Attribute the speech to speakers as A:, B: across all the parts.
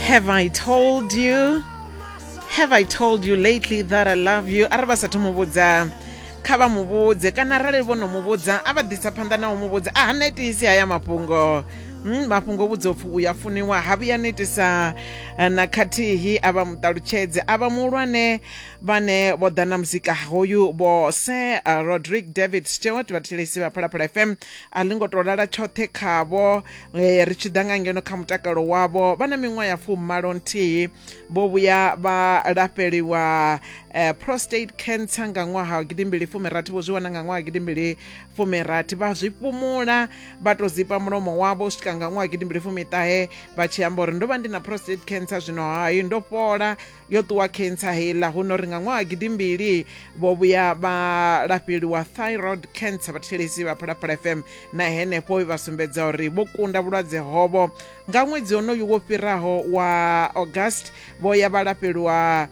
A: Have I told you? Have I told you lately that I love you? Arali vha sathu mu vhudza kha vha mu vhudze kana arali vho no mu vhudza a vha ḓisa phanḓa na u mu vhudza a ha netisi haya mafhungo. Mafhungo vhudza upfhi u ya funiwa ha vhuya netisa na khathihi a vha muṱalutshedze a vha muhulwane vhane vho ḓa na muzika hoyu vho Sir Roderick David Stewart vhathetshelesi vha Phalaphala FM a ḽi ngo tou lala tshoṱhe khavho. Ri tshi ḓa nga ngeno kha mutakalo wavho vha na miṅwaha ya fumalo nthihi vho vhuya vha lafheliwa prostate cancer nga ṅwaha wa gidimbili fumirathi, vho zwi wana nga ṅwaha wa gidimbili fumirathi vha zwi fhumula vha tou zipa mulomo wavho u swika nga ṅwaha wa gidimbili fumiṱahe vha tshi amba uri ndo vha ndi na prostate cancer zwino hai ndo fhola yo ṱuwa cancer heiḽa. Huno ri nga ṅwaha wa gidimbili vho vhuya vha lafheliwa thyroid cancer vhathetshelesi vha Phalaphala FM na henefho vha sumbedza uri vho kunda vhulwadze hovho. Nga ṅwedzi wonoyu wo fhiraho wa August vho ya vha lafheliwa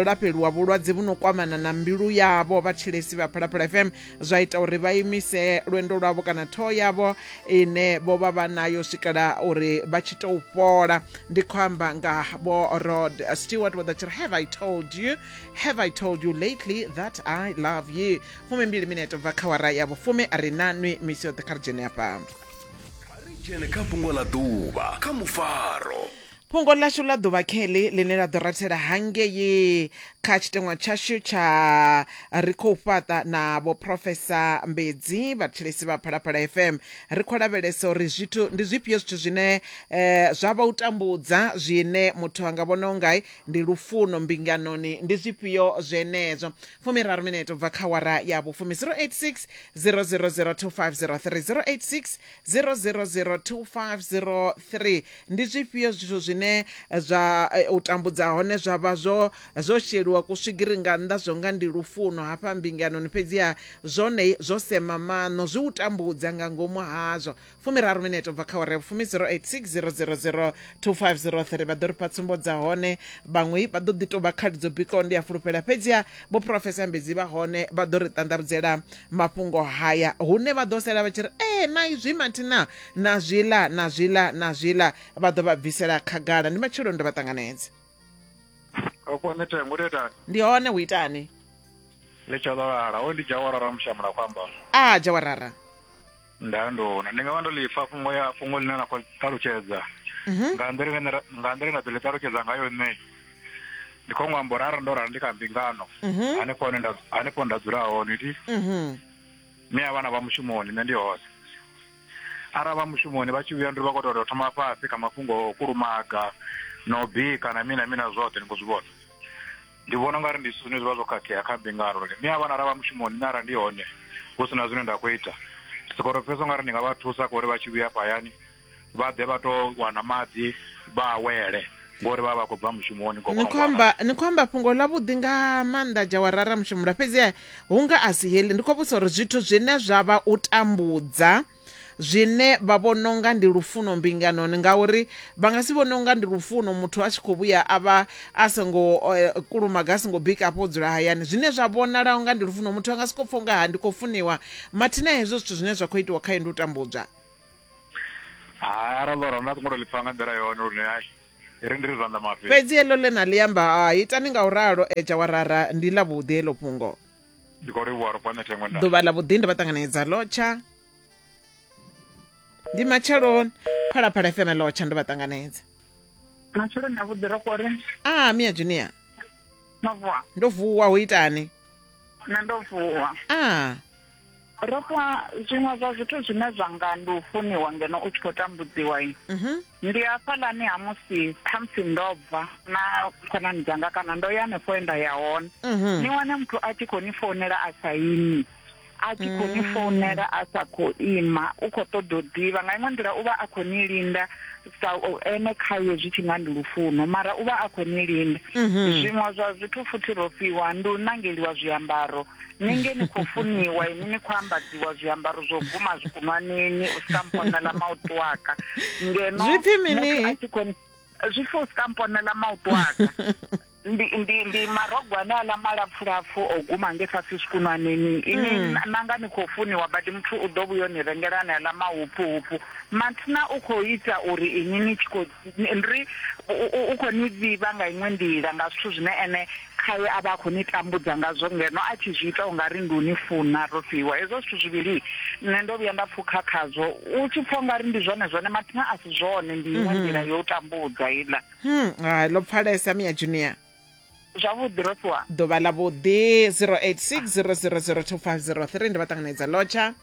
A: lafheliwa vhulwadze vhu no kwamana na mbilu yavho vhathetshelesi vha Phalaphala FM zwa ita uri vha imise lwendo lwavho kana thoho yavho ine vho vha vha nayo swikela uri vha tshi tou fhola. Ndi khou amba nga vho Rod Stewart vho ḓa tshi ri have I told you, have I told you lately that I love you. 12 minete bva kha wara ya vhufumi a ri na nwi misi yoṱhe kha ri dzhene afha.
B: Kha ri dzhene kha fhungo ḽa ḓuvha kha mufaro.
A: Fhungo ḽashu ḽa ḓuvha kheḽi ḽine ḽa ḓo rathela hangei kha tshiteṅwa tshashu tsha Ri Khou Fhaṱa na Vho Phrofesa Mbedzi, vhathetshelesi vha Phalaphala FM. Ri khou lavhelesa uri zwithu ndi zwifhio zwithu zwine zwa vha u tambudza zwine muthu a nga vhona u nga ndi lufuno mbinganoni, ndi zwifhio zwenezwo. Fumiraru minete u bva kha wara ya vhufumi 086 000 2503 086 0002503 Ndi zwifhio zwithu zwine zwa u tambudza hone zwa vha zwo zwo sheliwa kuswigiri nga nnḓa zwo nga ndi lufuno hafha mbinganoni, fhedziha zwone zwo sema maṋo, zwi u tambudza nga ngomu hazwo. Fumiraru minete u bva kha awara ya vhufumi 086 000 2503 vha ḓo ri fha tsumbo dza hone. Vhaṅwe vha ḓo ḓi tou vha khali dzo bikaho ndi a fulufhela, fhedziha Vho Phurofesa Mbedzi vha hone vha ḓo ri ṱanḓavhudzela mafhungo haya hune vha ḓo sala vha tshi ri ee na izwi mathina na zwiḽa na zwiḽa na zwiḽa vha ḓo vha bvisela khagala. Ndi matsheloni ndo vha ṱanganedza.
C: Okwane tengo uri itani?
A: Ndi hone hu itani?
C: Ḽi tsha ḓo lala, hoyu ndi Jawarara Mushamula khou amba.
A: A Jawarara.
C: Nda ndona ndi nga vha ndo ḽi pfa fhungo ya fhungo ḽine na khou ṱalutshedza nga nḓila ine nga nḓila nda ḓo ḽi ṱalutshedza ngayo nṋe ndi khou ṅwamba uri arali ndo rali ndi kha mbingano hanefho hune nda hanefho nda dzula hone thi mme a vhana vha mushumoni nṋe ndi hone arali vha mushumoni vha tshi vhuya ndi vha khou tou thoma fhasi kha mafhungo o kulumaga na u bika na mini na mini na zwoṱhe ni khou zwi vhona Ndi vhona ungari ndi zwithu zwine zwi vha zwo khakhea kha mbingano lune mme a vhana arali vha mushumoni nṋe arali ndi hone hu si na zwine nda khou ita ndi soko tou pfhesesa ungari ndi nga vha thusa kha uri vha tshi vhuya hafha hayani vha ḓe vha to wana maḓi vha awele ngori vha vha vha khou bva mushumoni
A: Ni khou amba ni khou amba fhungo ḽavhuḓi nga maanḓa Jawarara Mushumula fhedzi hu nga a si heḽi ndi khou vhudzisa uri zwithu zwine zwa vha u tambudza zwine vha vhona unga ndi lufuno mbinganoni ngauri vha nga si vhone unga ndi lufuno muthu a tshi khou vhuya a vha a songo kulumaga a songo bika afho o dzula hayani zwine zwa vhonala unga ndi lufuno muthu a nga soko pfa unga ha ndi khou funiwa mathina hezwo zwithu zwine zwa khou itiwa khae ndi u tambudzwa.
C: Hai arali ḽo ralo nda songo to ḽi pfa nga nḓila yone lune hai ri ndi ri zwanḓa mafhi.
A: Fhedzi heḽo ḽe na ḽi amba ha itani nga u ralo Jawarara ndi ḽavhuḓi heḽo fhungo.
C: Ndi khou livhuwa ro fha nṋe thengwe nda.
A: Ḓuvha ḽa vhuḓi ndo vha ṱanganedza lotsha. Ndi matsheloni Phalaphala FM lotsha ndo vha ṱanganedza.
D: Matsheloni avhuḓi ro kore.
A: Ah Mia Junior.
D: No vuwa.
A: Ndo vuwa hu itani?
D: Nṋe ndo vuwa.
A: Ah.
D: Ro fhiwa zwiṅwe zwa zwithu zwine zwa nga ndi u funiwa ngeno u tshi khou tambudziwa. Ndi hafhaḽani ha musi khamusi ndo bva na khonani dzanga kana ndo ya hanefho he nda ya hone. Ni wane muthu a tshi khou ni founela a sa imi, a tshi khou ni founela a sa khou ima, u khou ṱoḓa u ḓivha. Nga iṅwe nḓila u vha a khou ni linda sa ene khaye zwi tshi nga ndi lufuno mara u vha a khou ni linda. Zwiṅwe zwa zwithu futhi ro fhiwa ndi u nangeliwa zwiambaro. Ni nge ni khou funiwa inwi ni khou ambadziwa zwiambaro zwo guma zwikunwaneni u swika mponela mautu aka ngeno
A: Zwi pfi mini?
D: muthu a tshi khou zwi pfi u swika mponela mautu aka. Ndi ndi ndi marogo ane aḽa malapfulapfu o guma nge fhasi zwikunwaneni ini mm. nanga ni khou funiwa badi muthu u ḓo vhuya ni rengela ane aḽa mahuphuhuphu mathina u khou ita uri ini ni tshi khou ndi u khou ni vhivha nga iṅwe nḓila nga zwithu zwine ene khaye a vha a khou ni tambudza ngazwo ngeno a tshi zwi ita u nga ri ndi u ni funa ro fhiwa hezwo zwithu zwivhili nṋe ndo vhuya nda pfukha khazwo u tshi pfha u nga ri ndi zwone zwone mathina a si zwone ndi iṅwe nḓila yo u tambudza iḽa
A: Hmm, hai ḽo pfalesa Mia Junior.
D: Zwavhuḓi Rofhiwa.
A: Ḓuvha ḽa vhuḓi 0860002503 ndi vha ṱanganedza lotsha.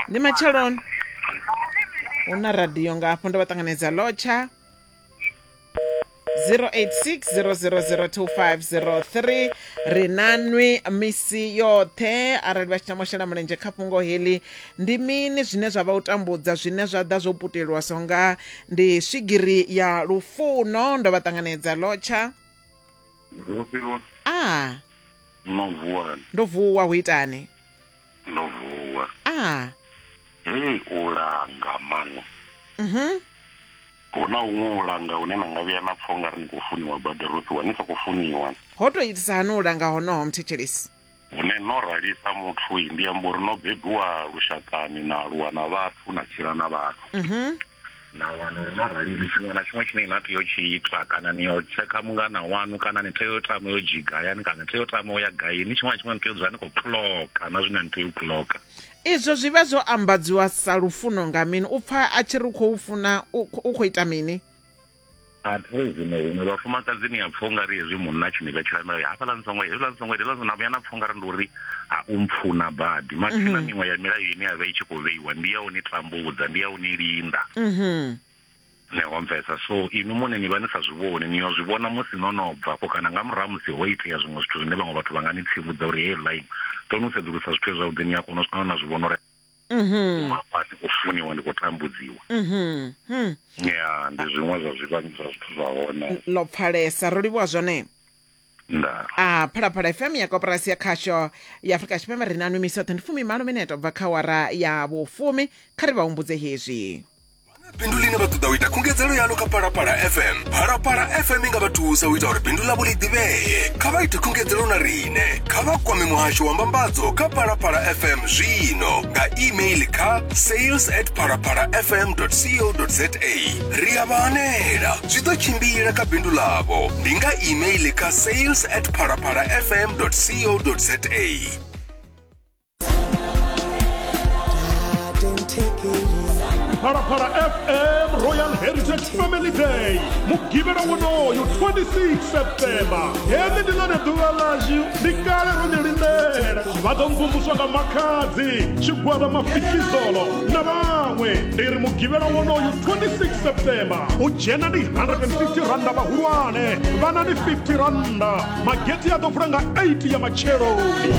A: Ndi matsheloni. Hu na radio nga hafho ndo vha ṱanganedza lotsha. 0860002503 ri na nwi misi yoṱhe arali vha tshi tama u shela mulenzhe kha fhungo heḽi ndi mini zwine zwa vha u tambudza zwine zwa ḓa zwo putelwa so nga ndi swigiri ya lufuno ndo vha ṱanganedza lotsha
E: Rofhiwa
A: a
E: no vuwa
A: ndo vuwa hu itani
E: ndo vuwa
A: a
E: hei u langa mani
A: mhm
E: hu na huṅwe u langa hune na nga vhuya na pfa ungari ni khou funiwa badi Rofhiwa ni sa khou funiwa
A: ho to itisa hani u langa honoho mthetshelesi
E: hune no ralisa muthu ndi amba uri no bebiwa lushakani na aluwa na vhathu na tshila na vhathu
A: mhm
E: na wana uri no rali tshiṅwe na tshiṅwe tshine na tea u tshi ita kana ni yo tshekha mungana wanu kana ni tea u tama yo dzhiga hayani kana ni tea u tama u ya gaini tshiṅwe na tshiṅwe ni tea u dzula ni khou clocka na zwine ni tea u clocka
A: izwo zwi vha zwo ambadziwa sa lufuno nga mini u pfa a tshi ri u khou funa u khou ita mini
E: A thi zwino huṅwe vhafumakadzi ni a pfa ungari hezwi munna a tshi ni vhetshela milayo hafhaḽa ni songo hezwiḽa ni songo ita hezwiḽa na vhuya na pfa ungari ndi uri a u mpfuna badi mathina mhm. miṅwe ya milayo ine ya vha i tshi khou vheiwa ndi ya u ni tambudza ndi ya u ni linda
A: mhm.
E: ne ho mpfesa so inwi muṋe ni vha ni sa zwi vhoni ni yo zwi vhona musi no no bva afho kana nga murahu musi ho itea zwiṅwe zwithu zwine vhaṅwe vhathu vha nga ni tsivhudza uri hey line to no sedzulusa zwithu zwavhuḓi ni a kona u swika na zwi vhona uri
A: Mhm.
E: hafha ndi khou funiwa ndi khou tambudziwa
A: Mhm. Hmm.
E: ya ndi zwiṅwe zwa zwivhangi zwa zwithu zwa hone
A: Ḽo pfalesa ro livhuwa zwone.
E: nda
A: A Phalaphala FM ya koporasi ya khasho ya Afrika Tshipembe ri na nwi misi yoṱhe ndi fumimalo minete u bva kha wara ya vhufumi kha ri vha humbudze hezwi.
B: Bindu ḽine vha ṱoḓa u ita khungedzelo yaḽo kha Phalaphala FM. Phalaphala FM i nga vha thusa u ita uri bindu ḽavho ḽi ḓivhee. Kha vha ite khungedzelo na riṋe. Kha vha kwame muhasho wa mbambadzo kha Phalaphala FM zwino nga email kha sales at phalaphalafm.co.za. Ri a vha hanela. Zwi ḓo tshimbila kha bindu ḽavho. Ndi nga email kha sales at phalaphalafm.co.za.
F: Phalaphala FM Royal Heritage Family Day mugivhela wonoyu 26 September heḽi ndi ḽone ḓuvha ḽashu ndi kale ro ḽi lindela vha ḓo mvumvuswa nga makhadzi tshigwada mafikizolo na vhaṅwe ndi ri mugivhela wonoyu 26 September u dzhena ndi 150 randa vhahulwane vhana ndi 50 randa Magetsi a ḓo vula nga 8 ya matsheloni.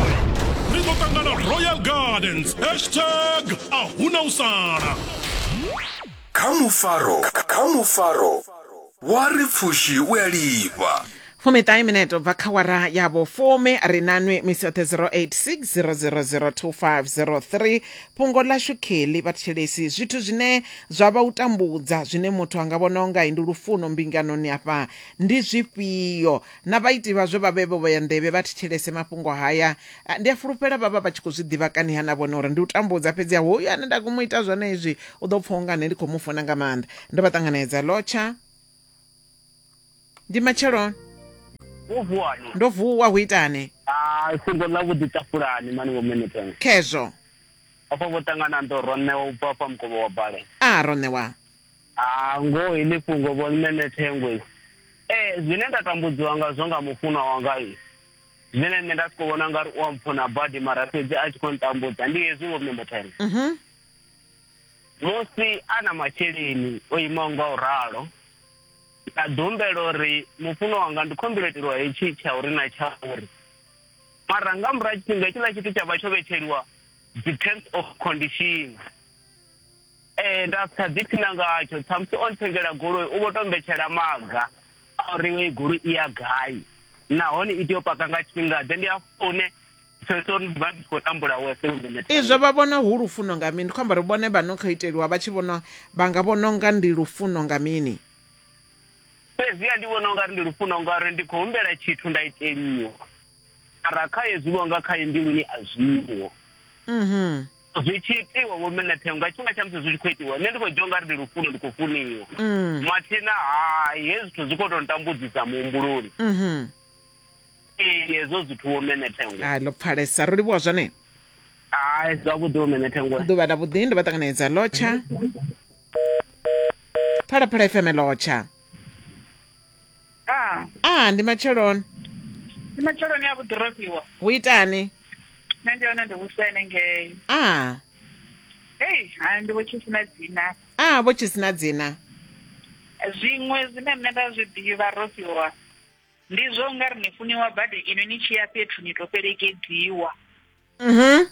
F: Ri ḓo ṱangana Royal Gardens. Hashtag a huna u sala.
B: Kha mufaro, kha mufaro wa ri pfushi u a lifha.
A: Fumiṱahe minete u bva kha wara ya vhufumi ri na nwi misi yoṱhe 0860002503 fhungo ḽashu kheli vhathetshelesi zwithu zwine zwa vha u tambudza zwine muthu a nga vhona unga ndi lufuno mbinganoni afha ndi zwifhio Na vhaiti vhazwo vha vhe vho vhea nḓevhe vha thetshelese mafhungo haya. Ndi a fulufhela vha vha vha tshi khou zwi ḓivha kani-ha na vhone uri ndi u tambudza, fhedzi-ha hoyu ane nda khou mu ita zwone izwi u ḓo pfa unga nṋe ndi khou mu funa nga maanḓa. Ndo vha ṱanganedza. Lotsha. Ndi matsheloni.
G: Wo vuwani?
A: Ndo vuwa, hu itani?
G: Ah, fhungo ḽa vhuḓi tafulani mani vho Mene
A: Khezwo.
G: Afha vho ṱangana ndo ro ṋewa u bva afha mukovho wa bale.
A: A ro ṋewa.
G: Ah, ngoho heḽi fhungo vho Nṋe Thengwe. Ee, zwine nda tambudziwa ngazwo nga mufunwa wanga zwine nṋe nda siko vhona ngari u a mpfuna badi mara fhedzi a tshi khou ntambudza ndi hezwi vho Mme Thengwe.
A: Mhm.
G: Musi a na masheleni o imaho nga u ralo nda ḓi humbela uri mufunwa wanga ndi khou humbela u iteliwa hetshi tsha uri na tsha uri mara nga murahu ha tshifhinga hetshiḽa tshithu tsha vha tsho vhetsheliwa dzi terms of condition. Ee, nda sa ḓiphina ngatsho ṱhamusi o nthengela goloi u vho to mbetshela maga a uri heyi goloi i ya gai nahone i tea u paka nga tshifhinga ḓe ndi hafho hune pfesesa uri ndi vha ndi tshi khou tambula wese
A: Izwo vha vhona hu lufuno nga mini? Ndi khou amba uri vhone vha no khou iteliwa vha tshi vhona vha nga vhona unga ndi lufuno nga mini?
G: Fhedziha ndi vhona ungari ndi lufuno ngauri ndi khou humbela tshithu nda iteliwa. Mara kha hezwi vho nga khaye mbiluni a zwiho.
A: Mhm.
G: Zwi tshi itiwa vho mme Thengo nga tshifhinga tsha musi zwi tshi khou itiwa nṋe ndi khou dzhia ungari ndi lufuno ndi khou funiwa.
A: Mm.
G: Mathina hai hezwi zwithu zwi khou tou ntambudzisa muhumbuloni.
A: Mhm.
G: Ee hezwo zwithu vho mme Thengo.
A: Hai ḽo pfalesa ro livhuwa zwone.
G: Hai zwavhuḓi vho mme Thengo.
A: Ḓuvha ḽa vhuḓi ndo vha ṱanganedza lotsha. Phalaphala FM lotsha.
D: Ah,
A: Ah ndi matsheloni.
D: ndi matsheloni a vhuḓi Rofhiwa.
A: Hu itani?
D: Nṋe ndi hone ndi vhusene ngei.
A: Ah.
D: Hei, hai ndi vho Tshisina dzina.
A: Ah vho Tshisina dzina.
D: Zwiṅwe zwine nṋe nda zwi ḓivha Rofhiwa ndi zwo nga ri ni funiwa badi inwi ni tshi ya fhethu ni to fhelekedziwa.
A: Mhm.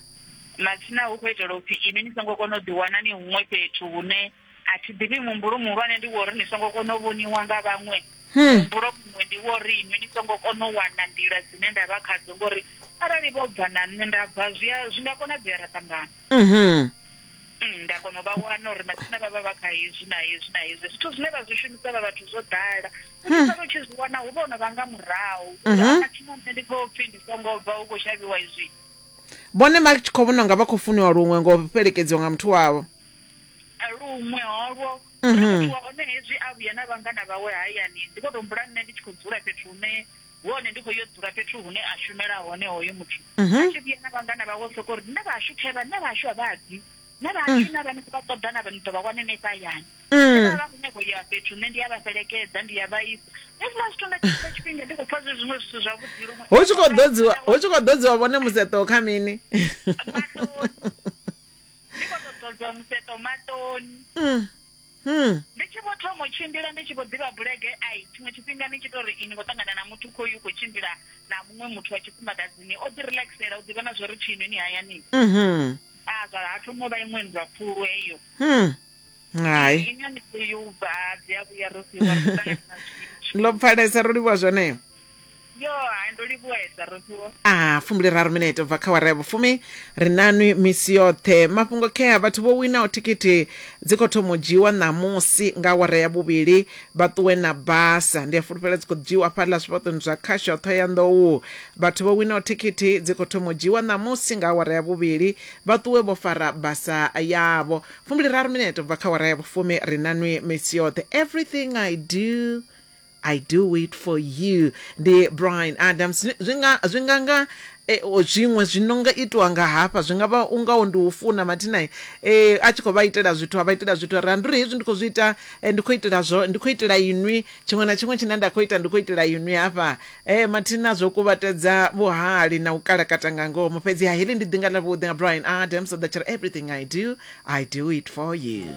D: Matsina hu khou itela upfi inwi ni songo kona u ḓiwana ni huṅwe fhethu hune a thi ḓivhi muhumbulo muhulwane ndi wa uri ni songo kona u vhoniwa nga vhaṅwe. Muhumbulo muṅwe ndi wa uri inwi ni songo kona u wana nḓila dzine nda vha khadzo ngori arali vho bva na nṋe nda bva zwi a zwi nga konadzea ra ṱangana.
A: Mhm.
D: Nda kona u vha wana uri matsina vha vha vha kha hezwi na hezwi na hezwi. Zwithu zwine vha zwi shumisa vha vhathu zwo ḓala. U tshi sala u tshi zwi wana hu vha ho no vha nga murahu. Matsina nṋe ndi khou pfhi ndi songo bva hu khou shavhiwa izwi.
A: Vhone vha tshi khou vhona unga vha khou funiwa luṅwe ngo fhelekedziwa nga muthu wavho.
D: Luṅwe holwo. Muthu wa hone hezwi a vhuya na vhangana vhawe hayani ndi khou tou humbula nṋe ndi tshi khou dzula fhethu hune hu hone ndi khou yo dzula fhethu hune a shumela hone hoyo muthu. A tshi vhuya na vhangana vhawe u sokou ri nṋe vhashu khevha nṋe vhashu a vha bvi. Nṋe vhashu na vhane vha ṱoḓa na ni ḓo vha wana henefha hayani. Vha vha khou nyaga u ya fhethu nṋe ndi a vha fhelekedza ndi a vha isa. Hezwiḽa zwithu nga tshiṅwe tshifhinga ndi khou pfha zwi zwiṅwe zwithu zwavhuḓi luṅwe.
A: Hu tshi khou ḓodziwa hu tshi khou ḓodziwa vhone museṱo kha mini?
D: Maṱoni. Ndi khou tou ḓodziwa museṱo maṱoni. Ndi tshi vho thoma u tshimbila ndi tshi vho ḓivha bulege ai tshiṅwe tshifhinga ni tshi tou ri ini khou ṱangana na muthu khoyu u khou tshimbila na muṅwe muthu wa tshifumakadzini o ḓi relaxela u ḓivha na zwo ri tshini ni hayani. A zwa ha thoma u vha iṅwe nndwa khulu heyo.
A: Hai.
D: Ine ni tea u bva dzi a vhuya ro fhiwa ri ṱangana na zwithu.
A: Ḽo pfalesa ro livhuwa zwone.
D: Yo, hai ndo livhuwesa ro fhiwa.
A: A 23 minete ubva kha wara ya vhufumi ri nanwi misi yoṱhe mafhungo khea vhathu vho winaho thikhithi dzi khou thoma u dzhiiwa ṋamusi nga awara ya vhuvhili vha ṱuwe na basa ndi a fulufhela dzi khou dzhiiwa fhaḽa zwifhaṱoni zwa khasho Ṱhohoyanḓou vhathu vho winaho thikhithi dzi khou thoma u dzhiiwa ṋamusi nga awara ya vhuvhili vha ṱuwe vho fara basa yavho 23 minete ubva kha awara ya vhufumi ri nanwi misi yoṱhe everything I do I do it for you ndi Brian Adams zwi nga zwi nga nga eh, o, zwiṅwe zwi no nga itiwa nga hafha zwi nga vha ungaho ndi u funa mathina eh, a tshi khou vha itela zwithu a vha itela zwithu ri ndi uri hezwi ndi khou zwi ita eh, ndi khou itela zwo ndi khou itela inwi tshiṅwe na tshiṅwe tshine nda khou ita ndi khou itela inwi hafha eh, mathina zwo kuvhatedza vhuhali na u kalakata nga ngomu fhedzi ha heḽi ndi ḓinga ḽa vhuḓi nga Brian Adams o ḓa tshi ri everything I do I do it for you.